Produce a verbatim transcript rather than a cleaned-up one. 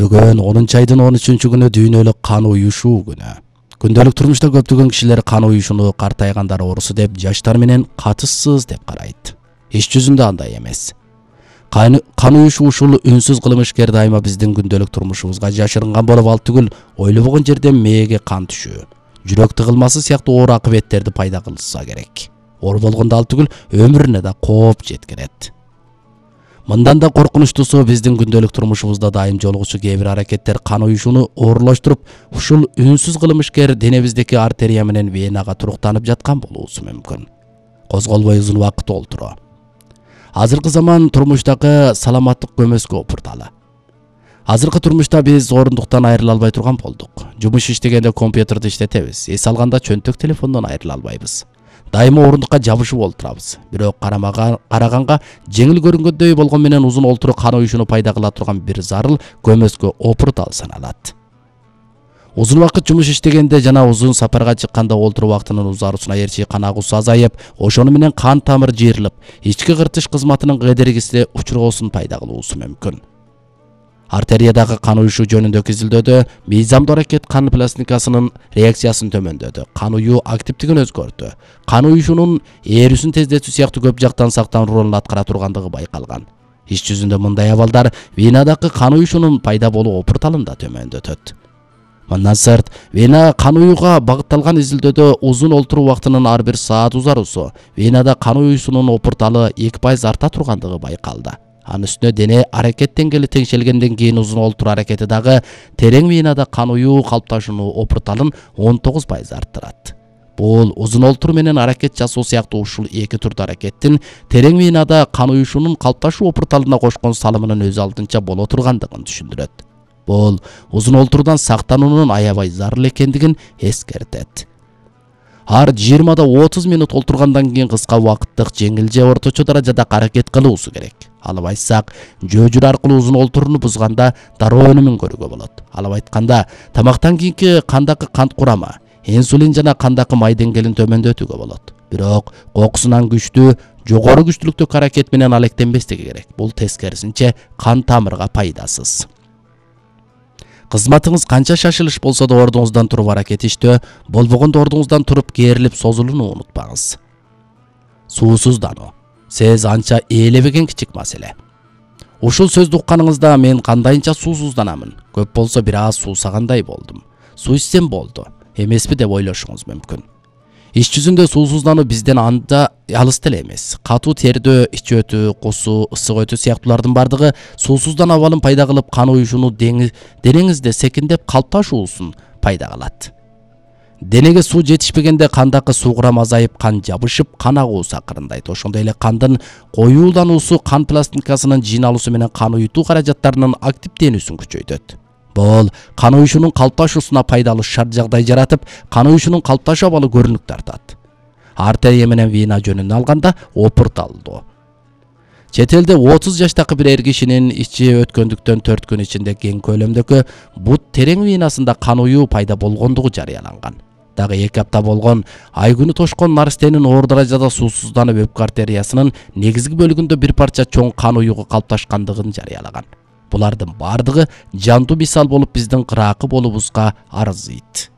Бүгүн онунчу айдын он үчүнчү күнү дүйнөлүк кан уюшуу күнү. Күндөлүк турмушта көптөгөн кишилер кан уюшууну картайгандар оорусу деп, жаштар менен катышсыз деп карайт. Иш жүзүндө андай эмес. Кан уюшуу ушул үнсүз кылмышкер дайыма биздин күндөлүк турмушубузга жашырынган болуп ал түгүл, ойлобогон жерден мээге кан түшүү, жүрөк тыгылмасы сыяктуу оор акыбеттерди пайда кылса керек. Оор болгондо ал түгүл, өмүрүнө да кооп жеткирет. Мындан да коркунучтусу, биздин күндөлүк турмушубузда дайым жолугучу кээ бир аракеттер кан уюшууну оорлоштуруп, ушул үнсүз кылмышкер денебиздеки артерия менен венага туруктанып жаткан болуусу мүмкүн. Козголбой узун убакыт олтуруу. Азыркы заман турмуштагы саламаттык көмөскө опурталы. Азыркы турмушта биз орундуктан айрыла албай турган болдук. Жумуш иштегенде компьютерди иштетебиз, эс алганда чөнтөк телефондон айрыла албайбыз. Дайыма орундукка жабышып олтурабыз. Бирок карамага караганга жеңил көрүнгөндөй болгон менен узун олтуруу кан уюшууну пайда кыла турган бир зарыл көмөскө опуртал саналат. Узун убакыт жумуш иштегенде жана узун сапарга чыкканда олтуруу убактынын узарусуна ээрчи кан агуусу азайып, ошону менен кан тамыр жыйрылып, ички кыртыш кызматынын кедергиси учургоосун пайда кылуусу мүмкүн. Артериядагы кан уюшуу жөнүндөгү изилдөөдө мыйзамдуу аракет кан пластинкасынын реакциясын төмөндөдү, кан уюу активдигин өзгөртү, кан уюшуунун ээрүүсүн тездетүү сыяктуу көп жактан сактануу ролун аткара тургандыгы байкалган. Иш жүзүндө мындай абалдар венадагы кан уюшуунун пайда болуу опурталын да төмөндөтөт. Мындан сырт, вена кан уюуга багытталган изилдөөдө узун олтуруу убактынын ар бир саат узарусу венада кан уюшуунун опурталы эки пайыз арта тургандыгы байкалды. Анын үстүнө дене аракет деңгээли теңшелгенден кийин узун олтуруу аракети дагы терең венада кан уюу калыпташуунун опурталын он тогуз пайыз арттырат. Бул узун олтуруу менен аракет жасоо сыяктуу ушул эки турдуу аракеттин терең венада кан уюшуунун калыпташуу опурталына кошкон салымынын өз алдынча боло тургандыгын түшүндүрөт. Бул узун олтуруудан сактануунун аябай зарыл экендигин эскертет. Ар жыйырмада отуз минут олтургандан кийин кыска убакыттык жеңил же орточо даражада аракет кылуусу керек. Алып айтсак, жөөжүр аркылуу узун олтурууну бузганда дароо өнүмүн көрүүгө болот. Алып айтканда, тамактан кийинки кандагы кант курамы, инсулин жана кандагы май деңгээлин төмөндөтүүгө болот. Бирок кокусунан күчтүү, жогору күчтүүлүктөгү аракет менен алектенбестиги керек. Бул тескерисинче кан тамырга пайдасыз. Кызматыңыз канча шашылыш болсо да ордуңуздан туруп аракеттештөө, болбогондо ордуңуздан туруп кээрилип созулууну унутпаңыз. Суусуздануу. Сез анча ээлебеген кичик маселе. Ушул сөздү укканыңызда мен кандайынча суусузданамын, көп болсо бир аз суусагандай болдум. Суу ичсем болду, эмеспи деп ойлошуңуз мүмкүн. Иш жүзүндө суусуздануу бизден анда алыс деле эмес. Катуу тердөө, ич өтүү, кусуу, ысык өтүү сыяктуулардын бардыгы суусуздануу абалын пайда кылып, кан уюшууну денеңизде секиндеп калыпташуусун пайда кылат. Денеге суу жетишпегенде кандагы суу курамы азайып, кан жабышып, кан агуусу акырындайт. Ошондой эле кандын коюулануусу кан пластинкасынын жыйналуусу менен кан уютуу каражаттарынын активденүүсүн күчөйтөт. Бул кан уюшуунун калыпташуусуна пайдалуу шарт жагдай жаратып, кан уюшуунун калыпташуу абалы көрүнүк тартат. Артерия менен вена жөнүндө алганда опурталдуу. Чет элде отуз жаштагы бир эр кишинин ичи өткөндүктөн төрт күн ичинде кең көлөмдөгү бут терең венасында кан уюу пайда болгондугу жарыяланган. Дагы эки апта болгон ай күнү тошкон наристенин оор даражада суусузданып өпкө артериясынын негизги бөлүгүндө бир парча чоң кан уюгу калыпташкандыгын жарыялаган. Булардын бардыгы жандуу мисал болуп биздин кыраакы болуубузга арзыйт.